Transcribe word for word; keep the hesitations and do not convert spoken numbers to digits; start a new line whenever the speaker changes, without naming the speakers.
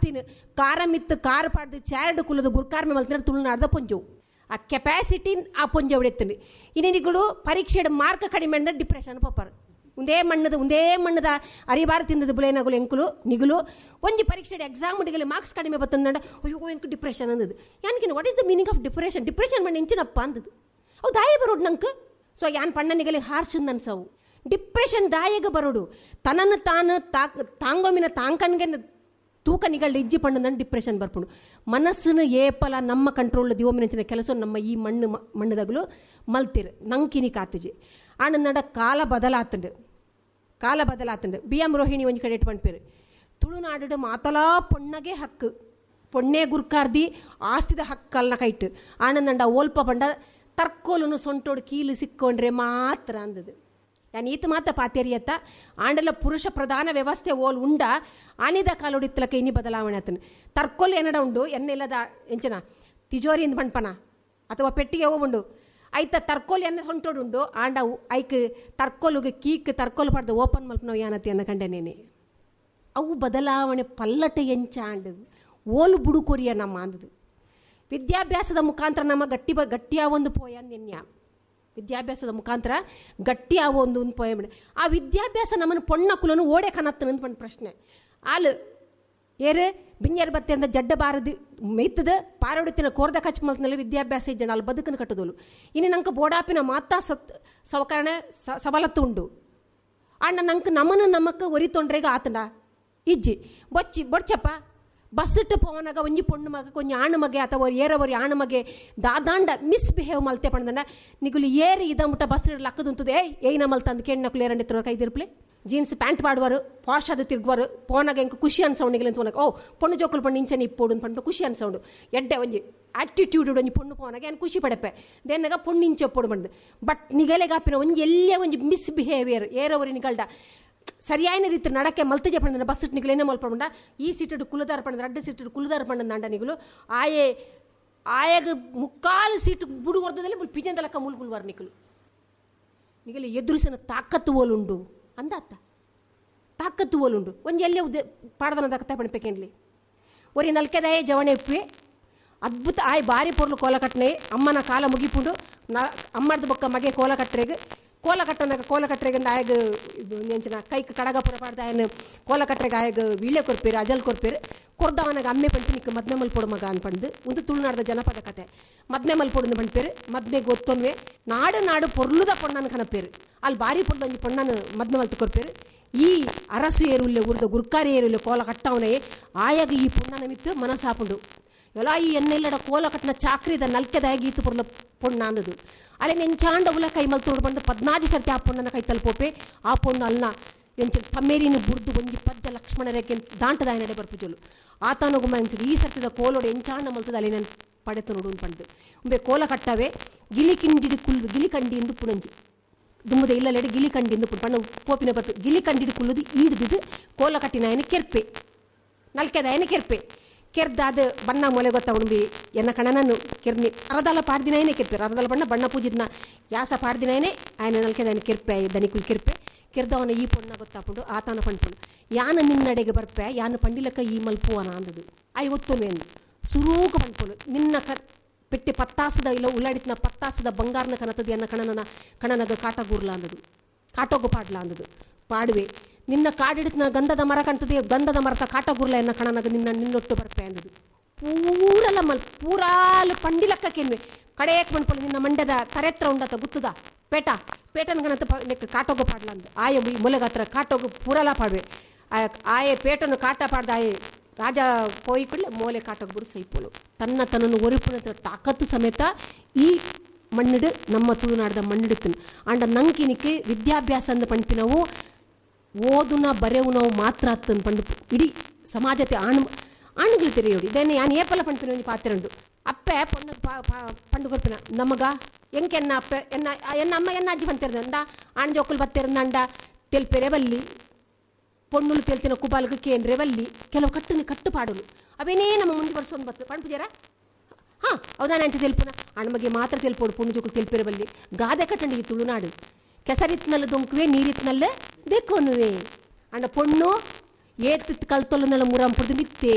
ಆಸ್ತಿನ ಕಾರ ಮಿತ್ತು ಕಾರ್ ಪಾಡ್ದು ಚಾರಡು ಕುಲದ ಗುರ್ಕಾರ್ಮೆ ಮಲ್ತಿನ ತುಳುನಾಡ್ದ ಪೊಂಜವು ಆ ಕೆಪಾಸಿಟಿ ಆ ಪೊಂಜವು ಎತ್ತುಂಡು. ಇನ್ನಿಗಳು ಪರೀಕ್ಷೆಡ್ ಮಾರ್ಕ್ ಕಡಿಮೆ ಅಂದ್ರೆ ಡಿಪ್ರೆಷನ್ ಪೋಪರ್. ಒಂದೇ ಮಣ್ಣದ ಒಂದೇ ಮಣ್ಣದ ಅರಿಬಾರ ತಿಂದದ ಬುಲೇನಗುಲು ಎಂಕುಲು ನಿಗುಲು ಒಂಜಿ ಪರೀಕ್ಷೆಡ್ ಎಕ್ಸಾಮ್ ಉಡಿಗಲಿ ಮಾರ್ಕ್ಸ್ ಕಡಿಮೆ ಬತ್ತಂದ ಅಯ್ಯೋ ಎಂಕು depression ಅಂದದು. ಯಾನ್ಕಿನ what is the meaning of depression? Depression ಮಣ್ಣ ಎಂಚಿನಪ್ಪ ಅಂದದು. ಅವು ದಾಯ ಬರೋಡು ನಂಗೆ. ಸೊ ಯಾನ್ ಪಣ್ಣ ನಿಗಲಿ ಹಾರ್ಷನ್ ಅನ್ಸವು ಡಿಪ್ರೆಷನ್ ದಾಯಗ ಬರೋಡು. ತನ್ನನ್ನು ತಾನು ತಾಕ್ ತಾಂಗೊಮಿನ ತಾಂಕನ್ಗೆ ತೂಕ ನಿಗಳ್ದ ಇಜ್ಜಿ ಪಣ್ಣಂದು ಡಿಪ್ರೆಷನ್ ಬರ್ಪುಂಡು. ಮನಸ್ಸನ್ನು ಏಪಲ ನಮ್ಮ ಕಂಟ್ರೋಲ್ ದಿವಮಿನಂಚಿನ ಕೆಲಸ ನಮ್ಮ ಈ ಮಣ್ಣು ಮಣ್ಣುದಗಲು ಮಲ್ತಿರು ನಂಕಿನಿ ಕಾತಜಿ. ಆನಂದ ಕಾಲ ಬದಲಾತಂಡು ಕಾಲ ಬದಲಾತಂಡು. ಬಿ ಎಂ ರೋಹಿಣಿ ಒಂಜಿ ಕಡೆ ಪಣ್ಪೇರು ತುಳುನಾಡು ಮಾತಲಾ ಪೊಣ್ಣಗೆ ಹಕ್ಕು ಪೊಣ್ಣೆ ಗುರ್ಕಾರ್ದಿ ಆಸ್ತಿದ ಹಕ್ಕಲ್ನ ಕೈಟು. ಆನಂದಂಡ ಓಲ್ಪ ಪಂಡ ತರ್ಕೋಲುನು ಸೊಂಟೋಡು ಕೀಲು ಸಿಕ್ಕೊಂಡ್ರೆ ಮಾತ್ರ ಅಂದದು. ಯಾನ್ ಈತ ಮಾತ ಪಾತೇರಿಯತ್ತ ಆಂಡಲ ಪುರುಷ ಪ್ರಧಾನ ವ್ಯವಸ್ಥೆ ಓಲ್ ಉಂಡ ಆನಿದ ಕಾಲೋಡಿತ್ತಲಕ ಇನಿ ಬದಲಾವಣೆ ಆತನು. ತರ್ಕೋಲು ಏನಡ ಉಂಡು ಎನ್ನೆಲ್ಲದ ಎಂಚನ ತಿಜೋರಿ ಇಂದ ಪಣ್ಪನ ಅಥವಾ ಪೆಟ್ಟಿಗೆ ಉಂಡು ಐತ ತರ್ಕೋಲು ಎನ್ನ ಸೊಂಟೋಡುಂಡು ಆಂಡ ಐಕ್ ತರ್ಕೋಲುಗೆ ಕೀಕ್ ತರ್ಕೋಲು ಪಡ್ದು ಓಪನ್ ಮಲ್ಪನವು ಯಾನತಿ ಅನ್ನ ಕಂಡೆನೇನೆ. ಅವು ಬದಲಾವಣೆ ಪಲ್ಲಟ ಎಂಚ ಆಂಡು ಓಲು ಬುಡುಕೊರಿಯ ನಮ್ಮ ಅಂದದು. ವಿದ್ಯಾಭ್ಯಾಸದ ಮುಖಾಂತರ ನಮ್ಮ ಗಟ್ಟಿ ಬ ಗಟ್ಟಿಯ ಒಂದು ಪೋಯ ನಿನ್ಯ ವಿದ್ಯಾಭ್ಯಾಸದ ಮುಖಾಂತರ ಗಟ್ಟಿ ಆವೋ ಒಂದು ಒಂದು ಪೋಯ. ಆ ವಿದ್ಯಾಭ್ಯಾಸ ನಮ್ಮನ್ನು ಪೊಣ್ಣ ಕುಲನು ಓಡೆ ಕನತ್ತನ ಅಂತ ಒಂದು ಪ್ರಶ್ನೆ. ಆಲು ಏರು ಬಿಂಜರ್ ಬತ್ತೆ ಅಂತ ಜಡ್ಡ ಬಾರದು ಮೇಯ್ತದ ಪಾರೋಡಿತಿನ ಕೋರ್ದ ಕಚ್ ಮಲ್ತನಲ್ಲಿ ವಿದ್ಯಾಭ್ಯಾಸ ಇಜ್ಜಣ ಅಲ್ಲಿ ಬದುಕನ್ನು ಕಟ್ಟದೋಲು. ಇನ್ನು ನಂಗೆ ಬೋಡಾಪಿನ ಮಾತಾ ಸತ್ ಸವಕರಣ ಸವಲತ್ತು ಉಂಡು. ಅಣ್ಣ ನಂಗೆ ನಮ್ಮನ್ನು ನಮಕ್ ಒರಿ ತೊಂಡ್ರೆಗೆ ಆತಂಡ ಇಜ್ಜಿ ಬೊಚ್ಚಿ ಬೊಡ್ಚಪ್ಪ ಬಸ್ಸಿಟ್ಟು ಪೋವನಾಗ ಒಂಜಿ ಪೊಣ್ಣು ಮಗ ಕೊಂಜಿ ಆಣು ಮಗೆ ಅಥವಾ ಏರವರಿ ಆಣು ಮಗೆ ದಾದಾಂಡ ಮಿಸ್ಬಿಹೇವ್ ಮಲ್ತೆ ಪಂಡಂಡ ನಿಗುಲು ಏರಿ ಇದ ಮುಟ್ಟ ಬಸ್ ಲಕ್ಕದುಂತದೆ ಏಯ್ ಏಯ್ನ ಮಲ್ತಂದು ಕೆಣ್ಣకులు ಏರಂడి ತಿರುವ ಕೈದಿರ್ಪ್ಲೆ ಜೀನ್ಸ್ ಪ್ಯಾಂಟ್ ಪಾಡುವರು ಪಾಶ್ ಅದು ತಿರುಗುವರು ಪೋನಾಗ ಎಂಕ ಖುಷಿ ಅನ್ಸೌಂಡ್ ನಿಗಲಿ ಅಂತ ಓ ಪೊಣ್ಣು ಜೋಕುಲು ಪಣ್ಣು ಇಂಚನೆ ಇಪ್ಪೋಡು ಅಂತ ಪಂಡ ಖುಷಿ ಅನ್ಸೌಂಡು ಎಡ್ಡೆ ಒಂಜಿ ಆಟಿಟ್ಯೂಡ್ ಒಂಜಿ ಪೊಣ್ಣು ಪೋನಾಗ ಏನು ಖುಷಿ ಪಡೆಪೆ ದೇನಾಗ ಪೊಣ್ಣು ಇಂಚೆ ಒಪ್ಪೋಡು ಬಂದು. ಬಟ್ ನಿಗಲೆಗಾಪಿನ ಒಂಜಿ ಎಲ್ಲೇ ಒಂಜಿ ಮಿಸ್ಬಿಹೇವಿಯರ್ ಏರವರಿ ನಿಗಲ್ಡ ಸರಿಯಾದ ರೀತಿ ನಡಕೆ ಮಲ್ತಜೆ ಪಂಡ ಬಸ್ ನಿಗಲು ಏನೇ ಮಲ್ಪಂಡ ಈ ಸೀಟು ಕುಲದಾರ ಪಂಡ ರಡ್ಡು ಸೀಟು ಕುಲದಾರ ಪಂಡ ನಿಗಲು ಆಯೆ ಆಯಾಗ ಮುಕ್ಕಾಲು ಸೀಟು ಬುಡುಗೊರ್ದಲ್ಲಿ ಪಿಜಂದಲಕ್ಕ ಮುಲ್ಗುಲ್ವಾರ ನಿಕಲು ನಿಗಲಿ ಎದುರಿಸನ ತಾಕತ್ತು ಓಲುಂಡು ಅಂದಾತ ತಾಕತ್ತು ಓಲುಂಡು ಒಂಜಿ ಎಲ್ಲೇ ಉದ್ದೆ ಪಾಡದನ ದಕ್ಕತ್ತ ಪಣಿಪೇಕೇನ್ಲಿ ಒರಿ ನಲ್ಕೆದಾಯೇ ಜವಣೆ ಉಪ್ಪೆ ಅದ್ಭುತ ಆಯ್ ಬಾರಿ ಪೊರ್ಲು ಕೋಲ ಕಟ್ಟನೆ ಅಮ್ಮನ ಕಾಲ ಮುಗಿಪುಂಡು ನ ಅಮ್ಮರ್ದ ಬೊಕ್ಕ ಮಗೆ ಕೋಲ ಕಟ್ಟರೆಗೆ ಕೋಲ ಕಟ್ಟನಾಗ ಕೋಲ ಕಟ್ಟರೆಗೆ ಆಯಗ ಎಂಚಿನ ಕೈಕ್ ಕಡಗ ಪುರ ಪಾಡ್ದ ಆಯನ ಕೋಲ ಕಟ್ಟರೆಗೆ ಆಯಗ ವೀಳ್ಯ ಕೊರ್ಪೇರು ಅಜಲ್ ಕೊರ್ಪೇರು ಕೊರ್ದವನಾಗ ಅಮ್ಮೆ ಪಂಪಿ ನಿಕ್ಕ ಮದ್ಮೆ ಮಲ್ಪೊಡು ಮಗ ಅನ್ಪಂದು ಒಂದು ತುಳುನಾಡದ ಜನಪದ ಕತೆ. ಮದ್ಮೆ ಮಲ್ಪೊಡು ಪಂಪೇರು ಮದ್ಮೆ ಗೊತ್ತೊನ್ವೆ ನಾಡು ನಾಡು ಪೊರ್ಲುದ ಪೊಣ್ಣನ ಕನಪೇರು ಅಲ್ಲಿ ಬಾರಿ ಪೊರ್ದು ಒಂಜಿ ಪೊಣ್ಣನ ಮದ್ಮೆ ಮಲ್ತು ಕೊರ್ಪೇರು. ಈ ಅರಸು ಏರುಲ್ಲೆ ಊರ್ದ ಗುರ್ಕಾರಿ ಏರುಲ್ಲೆ ಕೋಲ ಕಟ್ಟವನೇ ಆಯಾಗ ಈ ಪೊಣ್ಣನ ಮಿತ್ತು ಮನಸ್ಸಾಪುಂಡು ಎಲ್ಲ ಈ ಎನ್ನೆಲ್ಲಡ ಕೋಲ ಕಟ್ಟನ ಚಾಕ್ರಿದ ನಲ್ಕೆದಾಗಿ ಈತು ಪೊರ್ಲ ಪೊಣ್ಣ ಅಂದದು. ಅಲ್ಲೇ ನೆಂಚಾಂಡ ಉಲ ಕೈ ಮಲ್ತೋಡು ಬಂದು ಪದ್ನಾಜಿ ಸರ್ತಿ ಆ ಪೊಣ್ಣನ ಕೈ ತಲುಪೋಪೆ ಆ ಪೊಣ್ಣು ಅಲ್ಲ ಎಂಚ ತಮ್ಮೇರಿನ ಬುರ್ದು ಒಂಜಿ ಪಜ್ಜ ಲಕ್ಷ್ಮಣ ರೇಖೆ ದಾಂಟದ ನಡೆ ಬರ್ಪುಜೋಲು ಆತನಗುಮ ಎಂಚು ಈ ಸರ್ತಿದ ಕೋಲೋಡು ಎಂಚಾಂಡ ಮಲ್ತದ ಅಲ್ಲಿ ನಾನು ಪಡೆತ ನೋಡು ಪಂಡು ಉಂಬೆ ಕೋಲ ಕಟ್ಟವೆ ಗಿಲಿ ಕಿಂಡಿಡಿ ಕುಲ್ಲು ಗಿಲಿ ಕಂಡಿ ಎಂದು ಪುಣಂಜಿ ದುಮ್ಮದ ಇಲ್ಲಲೆಡೆ ಗಿಲಿ ಕಂಡಿ ಎಂದು ಪಣ್ಣ ಪೋಪಿನ ಬರ್ತು ಗಿಲಿ ಕಂಡಿಡಿ ಕುಲ್ಲುದು ಈಡ್ದಿದ್ದು ಕೋಲ ಕಟ್ಟಿನಾಯನ ಕೆರ್ಪೆ ನಲ್ಕೆದಾಯನ ಕೆರ್ಪೆ ಕೆರ್ದಾದ ಬಣ್ಣ ಮೊಲೆ ಗೊತ್ತ ಉಂಬಿ ಎನ್ನ ಕಣನನ್ನು ಕೆರ್ನಿ ಅರದಾಲ ಪಾಡ್ದಿನಾಯನೇ ಕೆರ್ಪೆ ಅರದಾಲ ಬಣ್ಣ ಬಣ್ಣ ಪೂಜಿದ್ನ ಯಾಸ ಪಾಡ್ದಿನಾಯನೇ ఆయన ನಲ್ಕೆದಾಯನ ಕೆರ್ಪೆ ದನಿಕುಲ್ ಕೆರ್ಪೆ ಕೆರ್ದವನ ಈ ಪೊಣ್ಣ ಗೊತ್ತಾಪುಂಡು ಆತನ ಪಂಡ್ಪುಂಡು ಯಾನ ನಿನ್ನಡೆಗೆ ಬರ್ಪೆ ಯಾನ ಪಂಡಿಲಕ್ಕ ಈ ಮಲ್ಪುವನ ಅಂದದು I ಒತ್ತೊನ್ವೆ ಸುರೂಕ ಪಂಡ್ಪುಂಡು ನಿನ್ನ ಕ ಪೆಟ್ಟಿ ಪತ್ತಾಸದ ಇಲ್ಲ ಉಳ್ಳಾಡಿತ್ನ ಪತ್ತಾಸದ ಬಂಗಾರನ ಕನತದ ಎನ್ನ ಕಣನ ಕಣನಗ ಕಾಟಗೂರ್ಲ ಅಂದದು ಕಾಟೋಗು ಪಾಡ್ಲ ಅಂದದು ಪಾಡುವೆ ನಿನ್ನ ಕಾಡಿಡ್ತನ ಗಂಧದ ಮರ ಕಾಣ್ತದೆ ಗಂಧದ ಮರತ ಕಾಟಗುರ್ಲ ಎನ್ನ ಕಣನಗ ನಿನ್ನ ನಿನ್ನೊಟ್ಟು ಬರ್ಪೆ ಅಂದದು ಪೂರಲ ಮಲ್ ಪೂರಾಲು ಪಂಡಿಲಕ್ಕ ಕೆನ್ವೆ ಕಡೆಯಕ್ ಮಣ್ಪೊಲು ನಿನ್ನ ಮಂಡ್ಯದ ತರೆತ್ರ ಉಂಡತ ಗುತ್ತದ ಪೇಟ ಪೇಟನ ಗಣತ ನೆಕ್ ಕಾಟೋಗು ಪಾಡ್ಲ ಅಂದ ಆಯ ಮೊಲೆಗಾತ್ರ ಕಾಟೋಗು ಪೂರಲ ಪಾಡುವೆ ಆಯ ಆಯೆ ಪೇಟನು ಕಾಟ ಪಾಡ್ದ ಆಯೆ ರಾಜ ಪೋಯಿ ಕೂಡಲೇ ಮೋಲೆ ಕಾಟೋಗು ಬಿಡು ಸೈಪೋಲು ತನ್ನ ತನ್ನನ್ನು ಒರಿಪುನ ತಾಕತ್ತು ಸಮೇತ ಈ ಮಣ್ಣಿಡು ನಮ್ಮ ತುಳುನಾಡದ ಮಣ್ಣಿಡುತ್ತನು. ಆಂಡ ನಂಕಿನಿಕ್ಕೆ ವಿದ್ಯಾಭ್ಯಾಸ ಅಂದ ಪಂಪಿನವು ಓದುನ ಬರೆವು ನಾವು ಮಾತ್ರ ಅತ್ತನ್ ಪಂಡು ಇಡೀ ಸಮಾಜತೆ ಆಣು ಆಣುಗಳು ತೆರೆಯೋಡಿ ಇದೇನೆ ಯಾನ್ ಏಪಲ ಪಂಪಿನ ಒಂಜಿ ಪಾತ್ರ ಉಂಡು ಅಪ್ಪೆ ಪೊಣ್ಣು ಪಂಡು ಕೊರ್ಪಿನ ನಮಗ ಎಂಕೆನ್ನ ಅಪ್ಪೆ ಎನ್ನ ಎನ್ನ ಅಮ್ಮ ಎನ್ನ ಅಜ್ಜಿ ಬಂತಿರ್ದಂಡ ಆಣ್ ಜೋಕುಲು ಬತ್ತಿರಂದಂಡ ತೆಲ್ಪೆರೆ ಬಲ್ಲಿ ಪೊಣ್ಣುಲು ತೆಲ್ತಿನ ಕುಬಾಲ್ಗೆ ಕೇಂದ್ರೆ ಬಲ್ಲಿ ಕೆಲವು ಕಟ್ಟುನ ಕಟ್ಟುಪಾಡುಲು ಅವೇನೇ ನಮ್ಮ ಮುಂದೆ ಬರ್ಸೊಂದು ಬತ್ತು ಪಂಪುಜಾರ ಹಾಂ ಹೌದಾನೆ ಅಂತ ತೆಲ್ಪುನ ಅಣ್ಮಗೆ ಮಾತ್ರ ತೆಲ್ಪೋಡು ಪೊಣ್ಣು ಜೋಕುಲು ತೆಲ್ಪೆರೆ ಬಲ್ಲಿ ಗಾದೆ ಕಟ್ಟಂಡಿ ಈ ತುಳುನಾಡು ಕೆಸರಿತ್ನಲ್ಲ ದೊಂಕುವೆ ನೀರಿತ್ನಲ್ಲ ದೆಕ್ಕೊನುವೆ ಅಂಡ ಪೊಣ್ಣು ಏತ್ ಕಲ್ತೊಲ್ಲುನಲ್ಲ ಮುರಂಪುರ್ದು ಮಿತ್ತೆ.